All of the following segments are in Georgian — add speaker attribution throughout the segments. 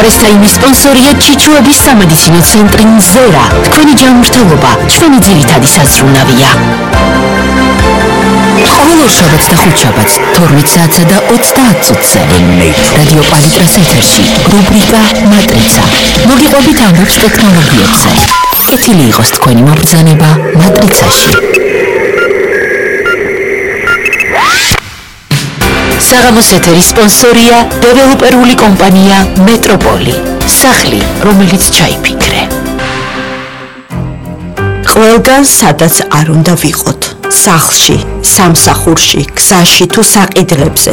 Speaker 1: პრესტაიმის სპონსორია ჩიჩუების სამედიცინო ცენტრი მზერა. თქვენი ჯანმრთელობა ჩვენი ძირითადი საზრუნავია. ყოველ შაბათს და ხუთშაბათს 12 საათსა და 30 წუთზე რადიო პალიტრას ეთერში რუბრიკა მატრიცა. მოგიყვებით ამბობს ტექნოლოგიებზე. კეთილი იყოს თქვენი მობრძანება მატრიცაში. საღამოს ეთერის სპონსორია დეველოპერული კომპანია მეტროპოლი. სახლი, რომელიც ჩაიფიქრე.
Speaker 2: ყველგან სადაც არ უნდა ვიყოთ. სახლში, სამსახურში, გზაში თუ საყიდლებზე.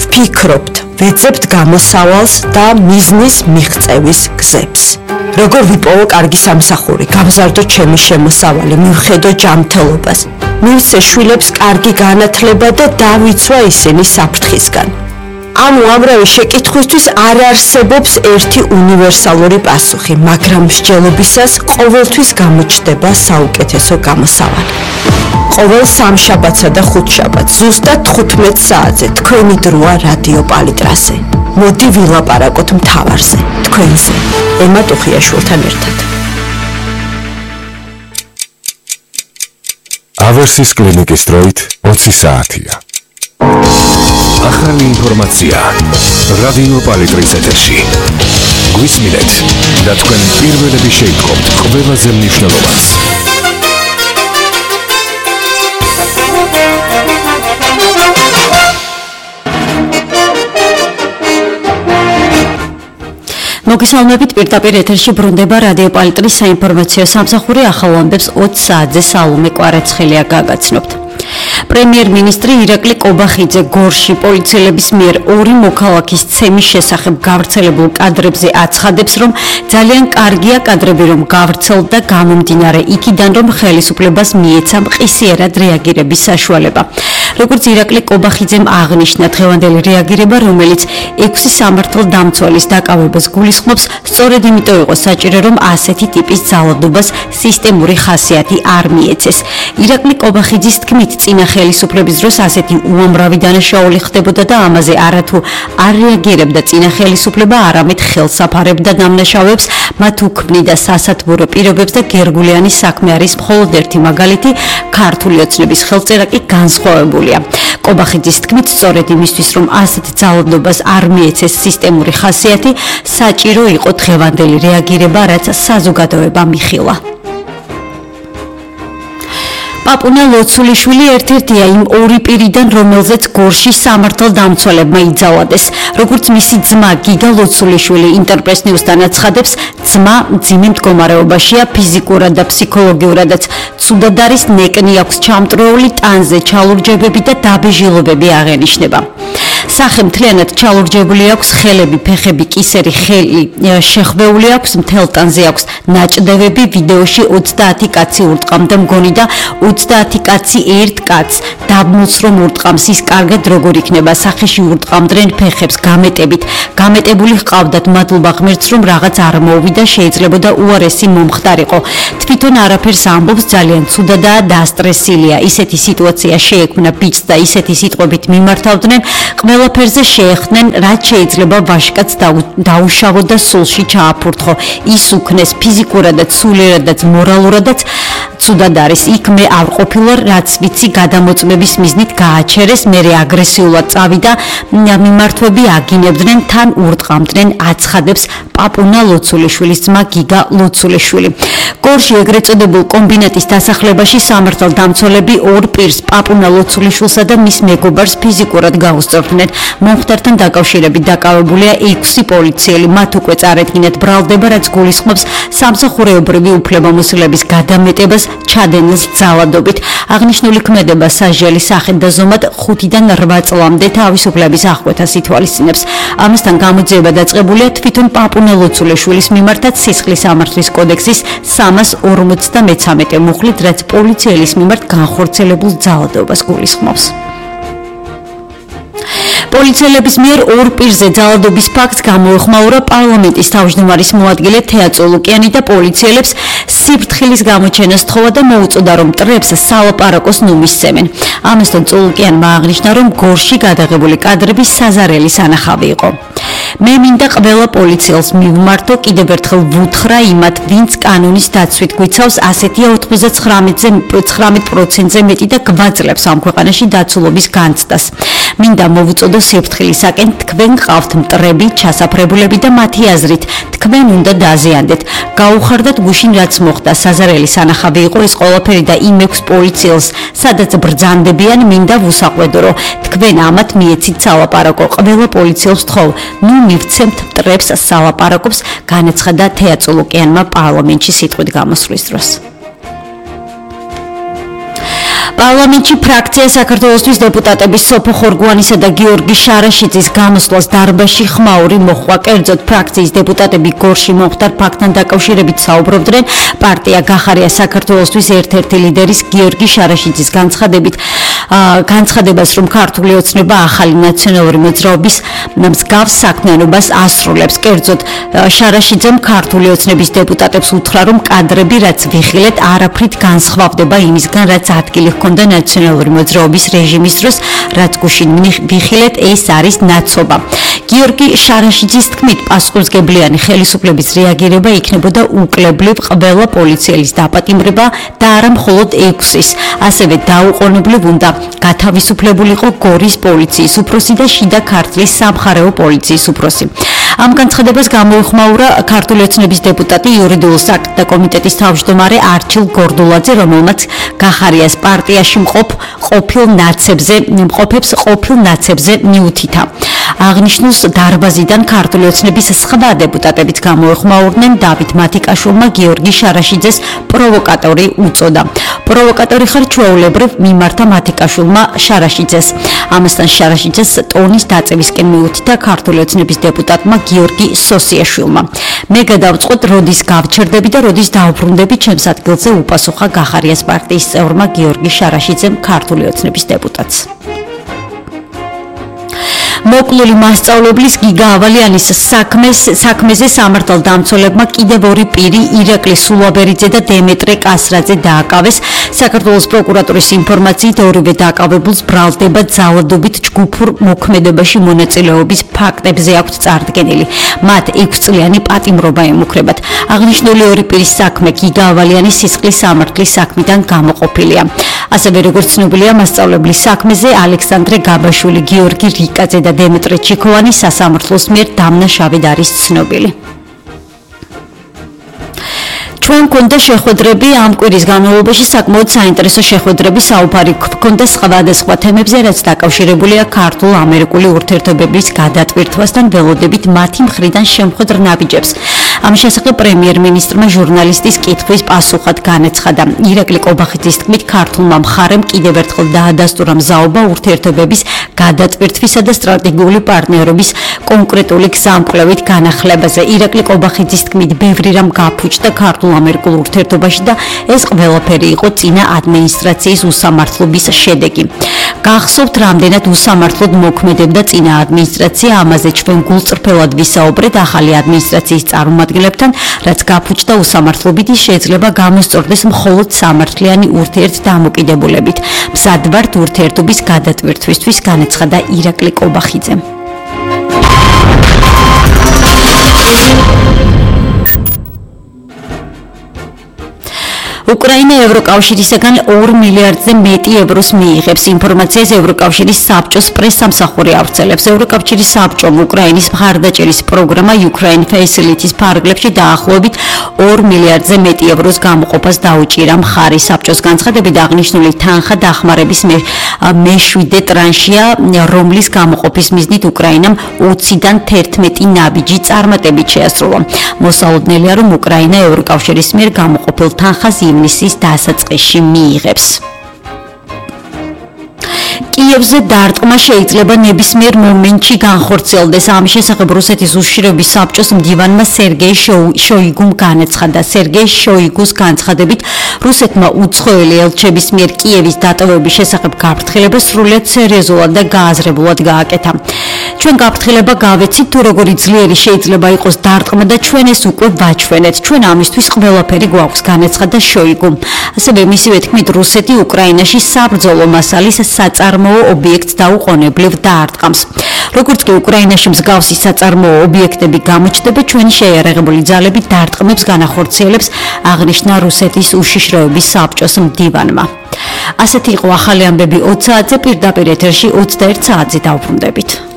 Speaker 2: ვფიქრობთ, ვეძებთ გამოსავალს და მიზნის მიღწევის გზებს. როგორ ვიპოვო კარგი სამსახური, გავზარდო ჩემი შემოსავალი, მივხედო ჯანმრთელობას. მივცე შვილებს კარგი განათლება და დავიცვა ისინი საფრთხისგან. ამ უამრავი შეკითხვისთვის არ არსებობს ერთი უნივერსალური პასუხი, მაგრამ მსჯელობისას ყოველთვის გამოჩნდება საუკეთესო გამოსავალი. ყოველ სამშაბათსა და ხუთშაბათს ზუსტად 15 საათზე თქვენი დროა რადიო პალიტრაზე. მოდი ვილაპარაკოთ მთავარზე, თქვენზე, ემა ტუხიაშვილთან ერთად.
Speaker 3: ავერსის კლინიკის დროით 20 საათია. ახალი ინფორმაცია რადიო პალიტრის ეთერში. გვისმინეთ და თქვენ პირველები შეიტყობთ ყველაზე მნიშვნელოვანს.
Speaker 4: მოგესალმებით, პირდაპირ ეთერში ბრუნდება რადიო პალიტრის საინფორმაციო სამსახური. ახალ ამბებს 20 საათზე სალომე კვარაცხელია გაგაცნობთ. პრემიერ-მინისტრი ირაკლი კობახიძე გორში პოლიციელების მიერ 2 მოქალაქის ცემის შესახებ გავრცელებულ კადრებზე აცხადებს, რომ ძალიან კარგია კადრები, რომ გავრცელდა გამომდინარე იქიდან, რომ ხელისუფლებას მიეცა მყისიერად რეაგირების საშუალება. როგორც ირაკლი კობახიძემ აღნიშნა, დღევანდელი რეაგირება, რომელიც 6 სამართალდამცველის დაკავებას გულისხმობს, სწორედ იმიტომ იყო საჭირო, რომ ასეთი ტიპის ძალადობას სისტემური ხასიათი არ მიეცეს. ირაკლი კობახიძის თქმით, წინა ხელისუფლების დროს ასეთი უამრავი დანაშაული ხდებოდა და ამაზე არათუ არ რეაგირებდა წინა ხელისუფლება, არამედ ხელს აფარებდა დამნაშავეებს, მათ უქმნიდა სასათბურო პირობებს და გერგულიანი საქმე არის მხოლოდ ერთი მაგალითი, ქართული ოცნების ხელწერა კი განსხვავებულია. კობახიძის თქმით, სწორედ იმისთვის, რომ ასეთ ძალადობას არ მიეცეს სისტემური ხასიათი, საჭირო იყო დღევანდელი რეაგირება, რაც საზოგადოებამ იხილა. პაპუნა ლოცულიშვილი ერთ-ერთია იმ 2 პირიდან, რომელზეც გორში სამართალდამცველებმა იძავადეს. როგორც მისი ძმა გიგა ლოცულიშვილი ინტერპრეს ნიუსთან აცხადებს, ძმა მძიმე მდგომარეობაშია, ფიზიკურად და ფსიქოლოგიურადაც ცუდად არის, ნეკნი აქვს ჩამტრეული, ტანზე ჩალურჯებები და დაბეჟილობები აღენიშნება. სახე მთლიანად ჩალურჯებული აქვს, ხელები, ფეხები, კისერი, ხელი შეხვეული აქვს, მთელ ტანზე აქვს ნაჭდევები. ვიდეოში 30 კაცი ურტყამდა მგონი და 30 კაცი ერთ კაცს დაბმულს რომ ურტყამს, ის კარგად როგორ იქნება. სახეში ურტყამდნენ ფეხებს გამეტებით, გამეტებული ჰყავდათ, მადლობა ღმერთს რომ რაღაც არ მოუვიდა, შეიძლებოდა უარესი მომხდარიყო. თვითონ არაფერს ამბობს, ძალიან ცუდადაა, დასტრესილია. ისეთი სიტუაცია შეექმნა ბიჭს და ისეთი სიტყვებით მიმართავდნენ, ყველაფერზე შეეხდნენ, რაც შეიძლება ვაჟკაცს დაუშავო და სულში ჩააფურთხო. ის უქნეს ფიზიკურადაც, სულიერადაც, მორალურადაც ცუდად არის. იქ მე არ ყოფილვარ, რაც ვიცი გადამოწმების მიზნით გააჩერეს, მერე აგრესიულად წავიდა, მიმართვები აგინებდნენ, თან ურტყამდნენ, აცხადებს პაპუნა ლოცულიშვილის ძმა გიგა ლოცულიშვილი. გორში ეგრეთ წოდებულ კომბინატის დასახლებაში სამართალდამცველები 2 პირს, პაპუნა ლოცულიშვილსა და მის მეგობარს ფიზიკურად გაუსწორდნენ. მომხდართან დაკავშირებით დაკავებულია 6 პოლიციელი, მათ უკვე წარედგინეთ ბრალდება, რაც გულისხმობს სამსახურეობრივი უფლებამოსილების გადამეტებას ჩადენილს ძალადობით. აღნიშნული ქმედება სასჯელი სახით და ზომად 5-დან 8 წლამდე თავისუფლების აღკვეთას ითვალისწინებს. ამასთან გამოძიება დაწყებულია თვითონ პაპუნა ლოცულიშვილის მიმართაც სისხლის სამართლის კოდექსის 353 მუხლით, რაც პოლიციელის მიმართ განხორციელებულ ძალადობას გულისხმობს. პოლიციელების მიერ 2 პირზე ძალადობის ფაქტს გამოეხმაურა პარლამენტის თავმჯდომარის მოადგილე თეა წოლუკიანი და პოლიციელებს სიფრთხილის გამოჩენას თხოვა და მოუწოდა, რომ მტრებს სალაპარაკოს ნუმისცემენ. ამასთან წოლუკიანმა აღნიშნა, რომ გორში გადაღებული კადრები საზარელი სანახავი იყო. მე მინდა ყველა პოლიციელს მივმართო, კიდევ ერთხელ ვუთხრა იმათ, ვინც კანონის დაცვით გვიცავს, ასეთია 99%-ზე მეტი და გვაძლევს ამ ქვეყანაში დაცულობის განცდას. მინდა მოვუწოდო სიფრთხილისაკენ, თქვენ ყავთ მტრები, ჩასაფრებულები და მათი აზრით, თქვენ უნდა დაზიანდეთ. გაუხარდათ გუშინ რაც მოხდა, საზარელი სანახავი იყო ეს ყველაფერი და იმ 6 პოლიციელს, სადაც ბრძანდებიან, მინდა ვუსაყვედო, რომ თქვენ ამათ მიეცით სალაპარაკო. ყველა პოლიციელს თხოვ, ნუ მივცემთ მტრებს სალაპარაკობს, განაცხადა თეატოლოკიანმა პარლამენტში სიტყვით გამოსვლის დროს. პარლამენტში ფრაქცია საქართველოსთვის დეპუტატების სოფო ხორგუანისა და გიორგი შარაშიძის გამოსვლას დარბაზში ხმაური მოჰყვა. კერძოდ ფრაქციის დეპუტატები გორში მომხდარ ფაქტთან დაკავშირებით საუბრობდნენ. პარტია გახარია საქართველოსთვის ერთ-ერთი ლიდერის გიორგი შარაშიძის განცხადებას, რომ ქართული ოცნება ახალი ნაციონალური მოძრაობის მსგავს საქმიანობას ასრულებს. კერძოდ შარაშიძემ ქართული ოცნების დეპუტატებს უთხრა, რომ კადრები რაც ვიხილეთ, არაფრით განსხვავდება იმისგან, რაც ადგილი ჰქონდა ნაციონალური მოძრაობის რეჟიმის დროს, რაც გუშინ ვიხილეთ, ეს არის ნაცობა. გიორგი შარაშიძის თქმით, პასუხისმგებლიანი ხელისუფლების რეაგირება იქნებოდა უკლებლივ ყველა პოლიციელის დაპატიმრება და არა მხოლოდ 6-ის. ასევე დაუყოვნებლივ უნდა გათავისუფლებულიყო გორის პოლიციის უფროსი და შიდა ქართლის სამხარეო პოლიციის უფროსი. ამ განცხადებას გამოიხმაურა ქართული ოცნების დეპუტატი იურიდიულ საკითხთა კომიტეტის თავმჯდომარე არჩილ გორდულაძე, რომელმაც გახარიას პარტიაში მყოფებს ყოფილ ნაცებზე მიუთითა. აღნიშნულს დარბაზიდან ქართული ოცნების სხვა დეპუტატებიც გამოეხმაურნენ. დავით მათიკაშვილმა გიორგი შარაშიძეს პროვოკატორი უწოდა. პროვოკატორი ხარ ჩვეულებრივ მიმართა მათიკაშვილმა შარაშიძეს. ამასთან შარაშიძეს ტონის დაწევისკენ მიუთითა ქართული ოცნების დეპუტატმა გიორგი სოსიაშვილმა. მე გადავწყვეტ, როდის გავჩერდები და როდის დავბრუნდები ჩემს ადგილზე, უპასუხა გახარიას პარტიის წევრმა გიორგი შარაშიძემ ქართული ოცნების დეპუტატს. მოკლული მასწავლებლის გიგა ავალიანის საქმეზე სამართალდამცველებმა კიდევ 2 პირი ირაკლი სულაბერიძე და დემეტრე კასრაძე დააკავეს. საქართველოს პროკურატურის ინფორმაციით ორივე დააკავებულს ბრალდება ძალადობით ჯგუფურ მოქმედებაში მონაწილეობის ფაქტებზე აქვთ წარდგენილი. მათ 6 წლიანი პატიმრობა ემუქრებათ. აღნიშნული 2 პირის საქმე გიგა ავალიანის სისხლის სამართლის საქმიდან გამოყოფილია. ასევე როგორც ცნობილია, მასწავლებლის საქმეზე ალექსანდრე გაბაშვილი, გიორგი რიკაძე და დემეტრე ჩიქოვანი სასამართლოს მიერ დამნაშავედ არის ცნობილი. ჩვენ გქონდა შეხვედრები ამ კვირის განმავლობაში საკმაოდ საინტერესო შეხვედრები საუბარი გქონდა სხვადასხვა თემებზე, რაც დაკავშირებულია ქართულ-ამერიკული ურთიერთობების გადატვირთვასთან, ველოდებით მათი მხრიდან შემხვედრ ნაბიჯებს. ამ შესახებ პრემიერ-მინისტრმა ჟურნალისტის კითხვის პასუხად განაცხადა. ირაკლი კობახიძის თქმით, ქართულმა მხარემ კიდევ ერთხელ დაადასტურა მზაობა ურთიერთობების გადატვირთვისა და სტრატეგიული პარტნიორობის კონკრეტული გზამკვლევით განახლებაზე. ირაკლი კობახიძის თქმით, ბევრი რამ გაფუჭდა ქართულ-ამერიკულ ურთიერთობაში და ეს ყველაფერი იყო წინა ადმინისტრაციის უსამართლობის შედეგი. გახსოვთ, რამდენად უსამართლოდ მოქმედებდა წინა ადმინისტრაცია, ამაზე ჩვენ გულწრფელად ვისაუბრეთ ახალი ადმინისტრაციის წარმომადგენლებთან, რაც გაფუჭდა უსამართლობით, შეიძლება გამოსწორდეს მხოლოდ სამართლიანი ურთიერთდამოკიდებულებით. მზად ვართ ურთიერთობის გადატვირთვისთვის, განაცხადა ირაკლი კობახიძემ. უკრაინა ევროკავშირისგან 2 მილიარდზე მეტი ევროს მიიღებს. ინფორმაციას ევროკავშირის საბჭოს პრესსამსახური ავრცელებს. ევროკავშირის საბჭომ უკრაინის მხარდაჭერის პროგრამა Ukraine Facility-ს ფარგლებში დაახლოებით 2 მილიარდზე მეტი ევროს გამოყოფას დაუჭირა. მხარი საბჭოს განცხადებით აღნიშნული თანხა დახმარების მე-7 ტრანშია, რომლის გამოყოფის მიზნით უკრაინამ 20-დან 11 ნაბიჯი წარმატებით შეასრულა. მოსალოდნელია, რომ უკრაინა ევროკავშირის მიერ გამოყოფილ თანხას ივნისის დასაწყისში მიიღებს. კიევზე დარტყმა შეიძლება ნებისმიერ მომენტში განხორციელდეს. ამის შესახებ რუსეთის უშიშროების საბჭოს მდივანმა სერგეი შოიგუმ განაცხადა. სერგეი შოიგუს განცხადებით, რუსეთმა უცხოელი ელჩების მიერ კიევის დატოვების შესახებ გაფრთხილება სრულიად სერიოზულად და გააზრებულად გააკეთა. ჩვენ გაფრთხილება გავეცით, თუ როგორი ძლიერი შეიძლება იყოს დარტყმა და ჩვენ ეს უკვე ვაჩვენეთ. ჩვენ ამისთვის ყველაფერი გვაქვს, განაცხადა შოიგუმ. ასევე მისივე თქმით, რუსეთი უკრაინაში საბრძოლო მასალის საწარმოო საწარმოო ობიექტს დაუყოვნებლივ დაარტყამს. როგორც კი უკრაინაში მსგავსი საწარმოო ობიექტები გამოჩნდება, ჩვენი შეიარაღებული ძალები დარტყმებს განახორციელებს, აღნიშნა რუსეთის უშიშროების საბჭოს მდივანმა. ასეთი იყო ახალი ამბები 20 საათზე, პირდაპირ ეთერში 21 საათზე დავბრუნდებით.